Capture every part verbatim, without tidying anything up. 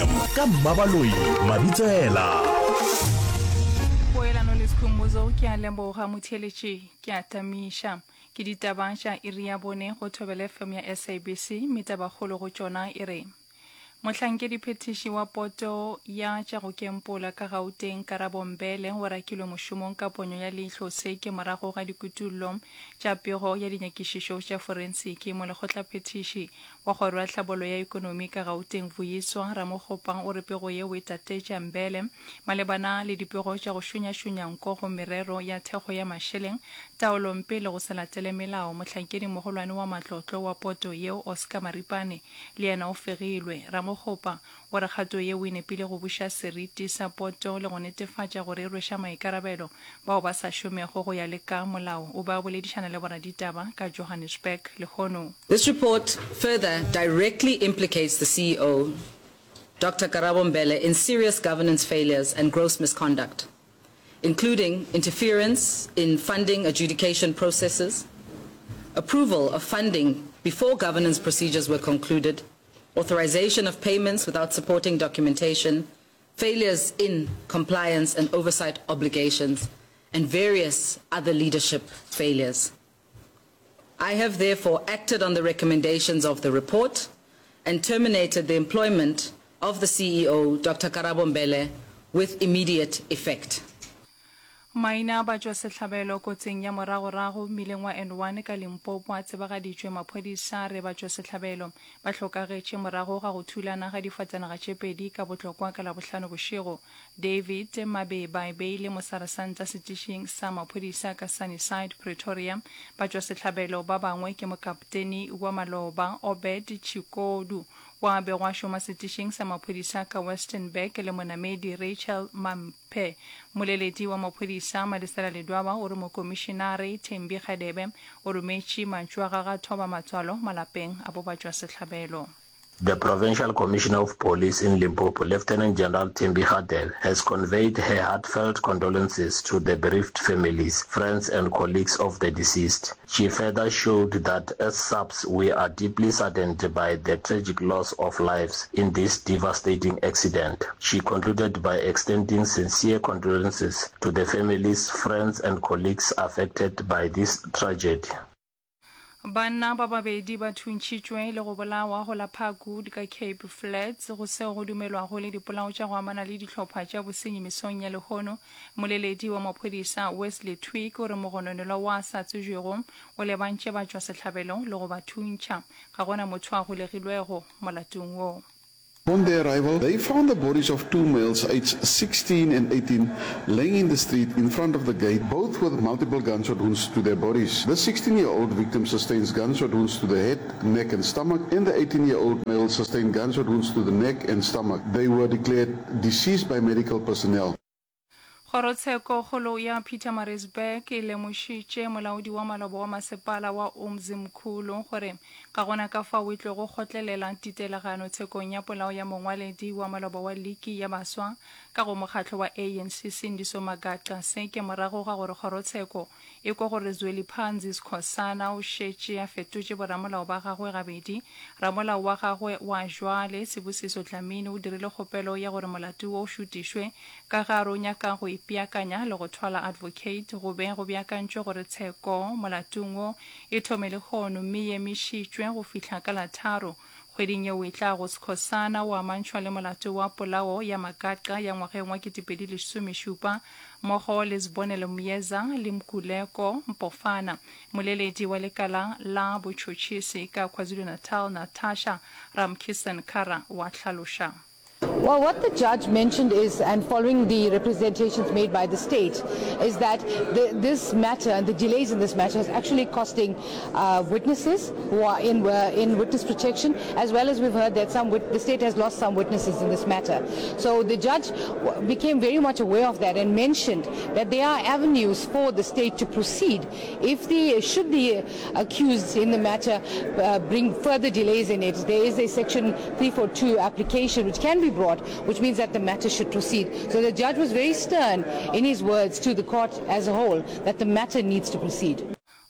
F M ka Mmabaloi Mabitsela. Poelano le Sekhumbuzo, ke a leboga motheeletši, ke a tamiša. Ke ditaba tša iri ya bone go Thobela F M ya S A B C, mme tabakgolo go tšona e re Mohlankediphethiši wa poto ya tša go kempola ka Gauteng Karabo Mbele o rakilwe mošomong ka ponyo ya leihlo. Se ke morago ga dikutullo tša pego ya dinyakišišo tša forensiki. Molekgotlaphethiši wa kgoro ya tlhabollo ya ekonomi ka Gauteng Vuyiswa Ramokgopa o re pego yeo e tatetša Mbele malebana le dipego tša go šunyašunya nko go merero ya thekgo ya mašeleng, taolompe le go se latele melao. Mohlankedi mogolwane wa matlotlo wa poto yeo Oscar Maripane le yena o fegilwe. Ramokgopa o re kgato yeo e nepile go buša seriti sa poto le go netefatša gore e rweša maikarabelo bao ba sa šomego go ya le ka molao. O be a boledišana le boraditaba ka Johannesburg lehono. This report further directly implicates the C E O, Doctor Karabo Mbele, in serious governance failures and gross misconduct, including interference in funding adjudication processes, approval of funding before governance procedures were concluded, authorization of payments without supporting documentation, failures in compliance and oversight obligations, and various other leadership failures. I have therefore acted on the recommendations of the report and terminated the employment of the C E O, Doctor Karabo Mbele, with immediate effect. Maina a batšwasehlabelo kotsing ya moragorago mmileng wa N one ka Limpopo a tsebagaditšwe. Maphodisa a re batšwasehlabelo ba hlokagetše morago ga go thulana ga difatanaga tše pedi ka Botlokwa ka Labohlano bošego. David Mabeba e be e le mosaresanta setišing sa maphodisa ka Sunnyside, Pretoria. Batšwasehlabelo ba bangwe ke mokapteni wa maloba Obed Chikodu wa bego a šoma setišing sa maphodisa ka Westenburg le monamedi Rachel Mamphe. Moleledi wa maphodisa Malesela Ledwaba o re mokomišenare Thembi Kgadebe o rometše mantšu a gagwe a thoba matswalo malapeng a bo batšwasehlabelo. The Provincial Commissioner of Police in Limpopo, Lieutenant General Thembi Hadebe, has conveyed her heartfelt condolences to the bereaved families, friends and colleagues of the deceased. She further showed that as SAPS, we are deeply saddened by the tragic loss of lives in this devastating accident. She concluded by extending sincere condolences to the families, friends and colleagues affected by this tragedy. Banna ba babedi ba thuntšhitšwe le go bolawa go la Parkwood ka Cape Flats go seo go dumelwago le dipolao tša go amana le dihlopha tša bosenyi mesong ya lehono. Moleledi wa maphodisa Wesley Twigg o re mogononelwa wa sa tsebjego o lebantše batšwasehlabelo le go ba thuntšha. Ga gona motho a golegilwego molatong wo. Upon their arrival, they found the bodies of two males aged sixteen and eighteen laying in the street in front of the gate, both with multiple gunshot wounds to their bodies. The sixteen-year-old victim sustains gunshot wounds to the head, neck and stomach, and the eighteen-year-old male sustained gunshot wounds to the neck and stomach. They were declared deceased by medical personnel. Kgorotshekokgolo ya Pietermaritzburg e lemošitše molaodi wa maloba wa masepala wa Umzimkhulu gore ga gona ka fao e tlogo kgotlelela titelegano tshekong ya polao ya mongwaledi wa maloba wa liki ya baswa ka go mokgatlo wa A N C Sindiso Magaqa. Se ke morago ga gore kgorotsheko e kwa gore Zweliphanzi Skhosana o šetše a fetotše boramolao ba gagwe gabedi. Ramolao wa gagwe wa jwale Sibusiso Dlamini o dirile kgopelo ya gore molato wo o šutišwe ka ge a re o nyaka go ipeakanya le go thwala advocate. Go be go beakantšwe gore tsheko molatong wo e thome lehono mme e emišitšwe go fihla ka la tharo kgweding yeo e tlago. Skhosana o amantšhwa le molato wa polao ya Magaqa ya ngwageng wa ketepedi lesomešupa mmogo le Sibonelo Myeza le Mkhuleko Mpofana. Moleledi wa lekala la botšhotšhisi ka KwaZulu-Natal Natasha Ramkisson-Kara wa hlaloša. Well, what the judge mentioned is, and following the representations made by the state, is that the, this matter and the delays in this matter is actually costing uh, witnesses who are in, uh, in witness protection, as well as we've heard that some wit- the state has lost some witnesses in this matter. So the judge w- became very much aware of that and mentioned that there are avenues for the state to proceed if the should the accused in the matter uh, bring further delays in it. There is a section three forty-two application which can be brought, which means that the matter should proceed. So the judge was very stern in his words to the court as a whole that the matter needs to proceed.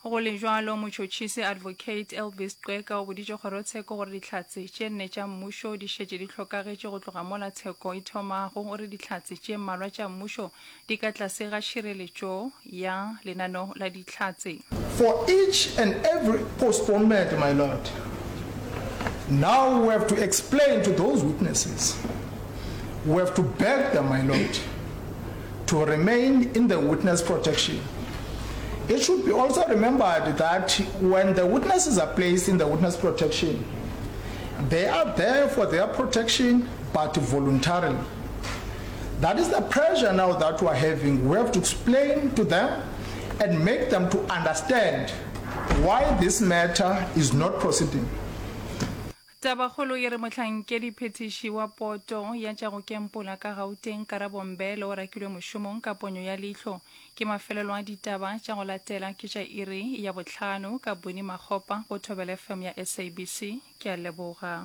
Go le bjalo, motšhotšhisi Advocate Elvis Qeka o boditše kgorotsheko gore dihlatse tše nne tša mmušo di šetše di hlokagetše go tloga mola tsheko e thomago. O re dihlatse tše mmalwa tša mmušo di ka tlase ga tšhireletšo ya lenaneo la dihlatse. For each and every postponement, my lord, now we have to explain to those witnesses, we have to beg them, my lord, to remain in the witness protection. It should be also remembered that when the witnesses are placed in the witness protection, they are there for their protection, but voluntarily. That is the pressure now that we are having. We have to explain to them and make them to understand why this matter is not proceeding. Tabakgolo e re mohlankediphethiši wa Poto ya tša go Kempola ka Gauteng, Karabo Mbele o rakilwe mošomong ka ponyo ya leihlo. Ke mafelelo a ditaba tša go latela ke tša iri ya bohlano ka Bonnie Makgopa go Thobela F M ya S A B C. Ke a leboga.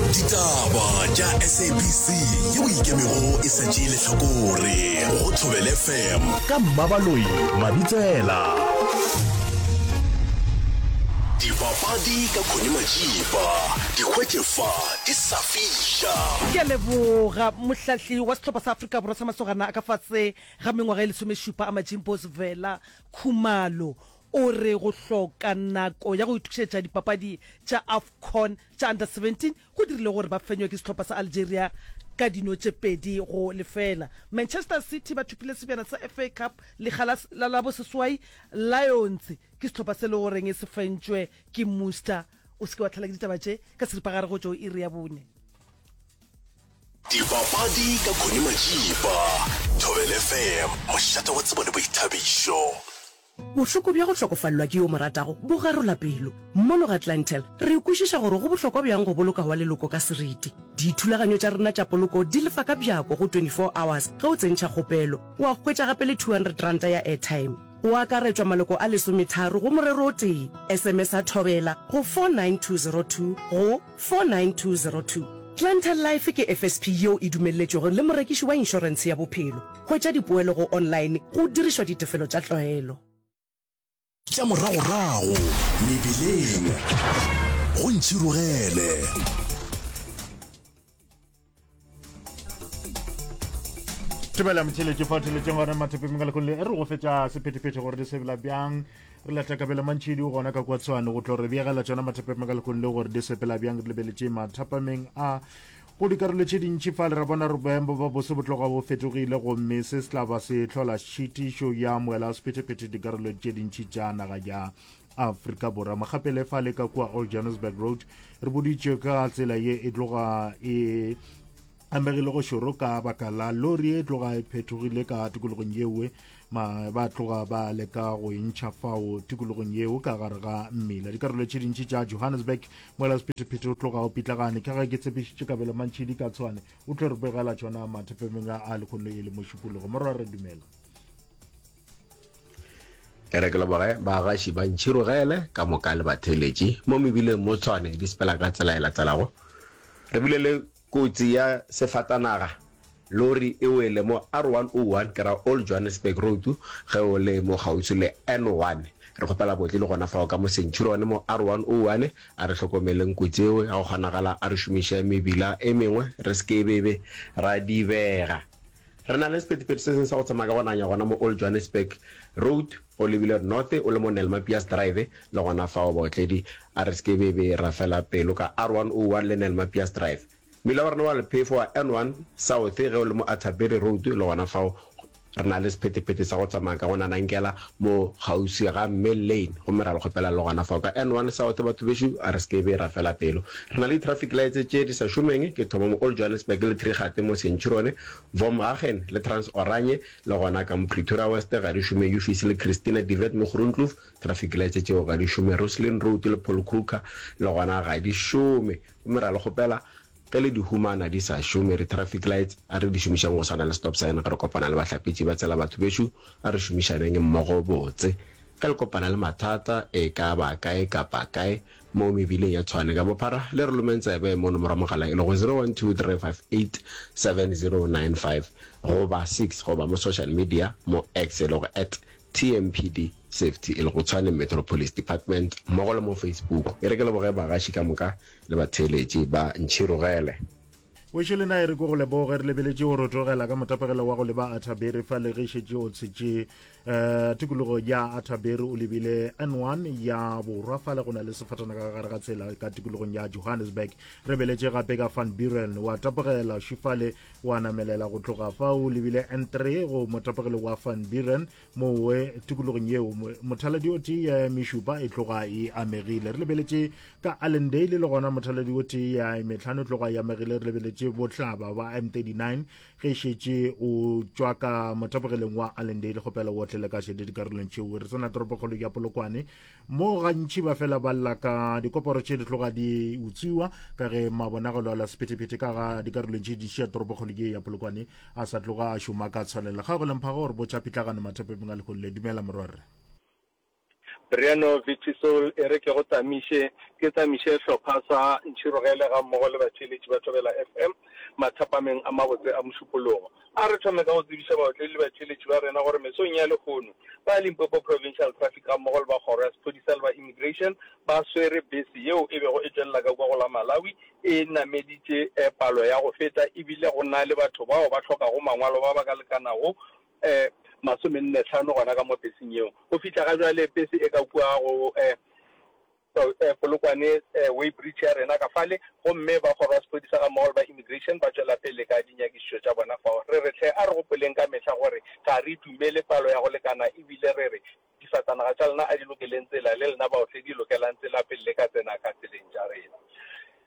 Ditaba tša S A B C yeo e ikemego e sa tšee lehlakore go Thobela F M ka Mmabaloi Mabitsela. Dipapadi ka Connie Majiba, di hwetše fa di sa fiša. Ke a leboga. Mohlahli wa sehlopha sa Afrika Borwa sa masogana a ka fase ga mengwaga e lesomešupa a Majimbos Vela Khumalo o re go hloka nako ya go itokišetša dipapadi tša AFCON tša Under seventeen go dirile gore ba fenywe ke sehlopha sa Algeria ka dino tše pedi go lefela. Manchester City ba thopile sebjana sa F A Cup lekga la la la boseswai. Lions ke sehlopha se le goreng se fentšwe ke Muster. O se ke wa tlhala ke ditaba tše ka seripagare go tšo iri ya bone. Dipapadi ka Connie Majiba, Thobela F M, mošate wa tsebo le boithabišo. Bohloko bja go hlokofalelwa ke yo mo ratago bo garola pelo. Mono ga Clientele, re kwešiša gore go bohlokwa bjang go boloka wa leloko ka seriti. Dithulaganyo tša rena tša poloko di lefa ka bjako go twenty-four hours ge o tsentšha kgopelo. Wa hwetša gape le two hundred ranta ya airtime. Go akaretšwa maloko a lesometharo go morero o tee. S M S a Thobela go four nine two zero two go four nine two zero two. Clientele Life ke F S P yeo e dumelletšwego le morekiši wa inšorentshe ya bophelo. Hwetša dipoelo go online go dirišwa ditefelo tša tlwaelo. Tša moragorago mebileng go ntšhirogele. Thobela motheletši fa theletšeng gona mathepeng ka lekgolo le re go fetša sephethephethe gore di sebela bjang. Re lata Kabelo Mantšhidi o gona ka kwa Tshwane go tlo re begela tšona mathepeng ka lekgolo le gore di sepela bjang. Re lebeletše mathapameng a go dikarolo tše dintši fa le ra bona re boemo ba bose bo tloga bo fetogile, gomme se se tla ba se hlola tšhitišo ya moela wa sephethephethe dikarolo tše dintši tša naga ya Afrika Borwa. Mogapele fa le ka kua Old Johannesburg Road re boditšwe ka tsela ye e tloga e amegile go šoro ka baka la lori e tloga e phethogile ka tikologong yeo, ma ba tloga ba leka go e ntšha fao tikologong yeo ka gare ga mmila. Dikarolo tše dintši tša Johannesburg moela sephethephethe o tloga o pitlagane. Ka ge ke tshepišitše Kabelo Mantšhidi ka Tshwane o tlo re begela tšona mathepemeng a lekgono e le mošupologo. Morwa re dumela. E re ke leboge bagaši ba ntšhirogele ka moka le batheeletši mo mebileng mo Tshwane di sepela ka tsela e latelago. Re bile le kotsi ya sefatanaga lori e wele mo R one oh one ke ra Old Johannesburg Road ge o le mo kgauswi le N one. Re kgopela botli le gona fao ka mo Centurion mo R one oh one. A re hlokomeleng kotsi eo ya go kgonagala, a re šomiše mebila e mengwe re se ke bebe ra dibega. Re na le sephethephethe se sengwe sa go tsamaya ka go nanya gona mo Old Johannesburg Road o lebile north o le mo Nelmapias Drive le gona fao baotledi a re se ke bebe ra fela pelo ka R one oh one le Nelmapias Drive. Mmila wa rena wa lephefo wa N one South ge o le mo Atterbury Road le gona fao re na le sephethephethe sa go tsamaya ka go nanankela mo kgauswi ga Mill Lane, gomme ra le kgopela le gona fao ka N one South batho bešo a re se ke be ra fela pelo. Re na le di-traffic lights tše di sa šomeng, ke thoma mo Old Johannesburg le Trigate mo Centurion, Vormhagen le Trans Oranje le gona ka mo Pretoria West ga di šome, Uffice le Christina de Wet mo Groenkloof traffic lights tšeo ga di šome, Roslyn Road le Paul Kruger le gona ga di šome, gomme ra le kgopela ge le di humana di sa šome re traffic lights a re di šomišang go swana le stop sign ge re kopana le bahlapetši ba tsela batho bešo a re šomišaneng mmogo botse. Ge le kopana le mathata e ka ba kae kapa kae mo mebileng ya Tshwane ka bophara le re lomeng tsebe mo nomoro ya mogala e lego zero one two three five eight seven zero nine five goba six goba mo social media mo X e lego at T M P D Safety e lego Tshwane Metro Police Department mmogo le mo Facebook. E re ke leboge bagaši ka moka le batheeletši ba Ntšhirogele. Wešo le na e re ko go leboge re lebeletše o rotogela ka motapegelo wa go leba Athabere fa le ge šetše o tshetše um tikologo ya Athabere o lebile N one ya borwa fa le go na le sefatana ka gare ga tsela ka tikologong ya Johannesburg. Re beletše gape ka Van Buren wa tapogela šifale wa namelela go tloga fa o lebile N three go motapegelo wa Van Buren mowe tikologong yeo mothaladi o tee ya mešupa e tloga e amegile. Re lebeletše ka Allendale le gona mothaladi o tee ya metlhano e tloga e amegile. Re lebeletše bohlaba ba M thirty-nine ge šetše o tšwa ka motapogeleng wa Allendale kgopela o otlele ka šedi dikarolong tšeo. Re tsena toropokgolo ya Polokwane mo gantši ba fela ba lla ka dikoporo tše di tloga di utswiwa ka ge mabonagalo a la sephethephethe ka ga dikarolong tše di šia toropokgolo ye ya Polokwane a sa tloga a šoma ka tshwanelo. Ga go lemphago gore botša pitlagano mathapepeng a lehono le. Dumela morwarre. Briano Vitisol, E re ke go tsamiše, ke tsamiše hlopha sa Ntšhirogele gammogo le batheeletši ba Thobela F M mathapameng a mabotse a Mošupologo. A re thome ka go tsebiša baotledi le batheeletši ba rena gore mesong ya lehono, ba Limpopo Provincial Traffic gammogo le ba Kgoro ya Sephodisa le ba Immigration ba swere bese yeo e bego e tšwelela ka kua go la Malawi e nameditše palo ya go feta ebile go na le batho bao ba hlokago mangwalo ba ba ka lekanago masomenne hlano gona ka mo peseng yeo. Go fihla ga bjale pese e ka kua go Polokwane weigh bridge ya rena ka fale, gomme ba kgoro ya sephodisa gammogo le ba immigration ba tšwela pele ka dinyakišišo tša bona fao. Re re hle a re gopoleng ka mehla gore ga re dumele palo ya go lekana ebile re re difatanaga tša lena a di lokeleng tsela le lena baotledi lokelang tsela pele le ka tsena ka tseleng tša rena.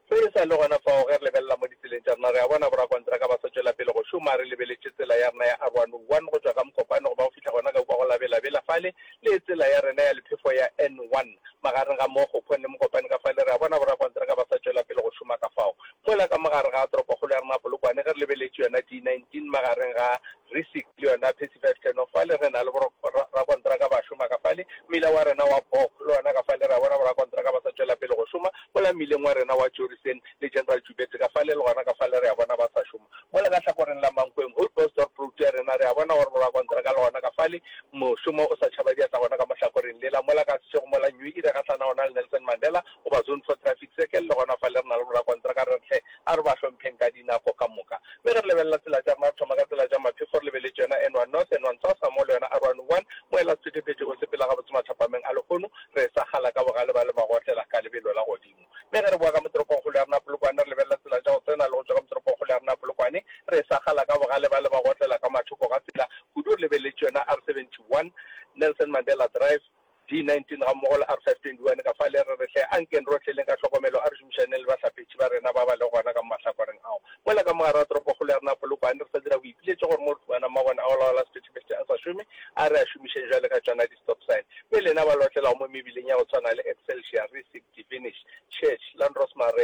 Ge e sa le gona fao, ge re lebelela mo ditseleng tša rena, re a bona borakontraka ba sa tšwela pele go šoma. Re lebeletše tsela ya rena ya R one oh one go tšwa ka Mokopane go ba go fihla gona ka kua go la Bela-Bela fale, le tsela ya rena ya lephefo ya N one magareng ga Mookgophong le Mokopane ka fale, re a bona borakontraka ba sa tšwela pele go šoma ka fao. Mola ka mo gare ga toropokgolo ya rena Polokwane, ge re lebeletše yona D nineteen magareng ga Rissik le yona Phesi five ten off fale, re na le borakontraka ba šoma ka fale. Mmila wa rena wa Bok le wona ka fale, re a bona borakontraka ba sa tšwela pele go šoma. Mola mmileng wa rena wa Jorissen le General Joubert ka fale, le gona ka fale re a bona ba sa šoma. Mola ka hlakoreng la Mankweng, Houtbosdorp Road ya rena, re a bona gore borakontraka le gona ka fale mošomo o sa tšhaba diatla gona ka mo hlakoreng lela. Mola ka Seshego mola New Era gahlana gona le Nelson Mandela goba Zone four Traffic Circle, le gona fale re na le borakontraka re re hle a re ba hlompheng ka dinako ka moka. Mme ge re lebelela tsela tša rena, re thoma ka tsela tša maphefo, re lebeletše yona N one North, N one South, gammogo le yona R one one. Moela sephethephethe o sepela gabotse mathapameng a lehono, re sa kgala ka bogale ba le magotlela ka lebelo la godimo. Mme ge re boa ka mo toropongkgolo ya rena Polokwane, re lebelela tsela tša go tsena le go tšwa ka mo toropongkgolo ya rena Polokwane, re sa kgala ka bogale ba le magotlela ka mathoko ga tsela, kudu re lebeletše yona R seventy one, Nelson Mandela Drive, D nineteen gammogo le R five twenty one ka fale, re re hle ankeng rohle leng ka hlokomelo a re šomišaneng le bahlapetši ba rena ba ba lego gona ka mo mahlakoreng ao. Mola ka mo gare ga toropokgolo ya rena Polokwane re sa dira boipiletšo gore mo re humanang mabone a go laola sephethephethe a sa šome, a re a šomišeng bjale ka tšona di-stop sign. Mme lena ba le otlelago mo mebileng ya go tshwana le Excelsior, Rissik, Divinish, Church, Landrosmare,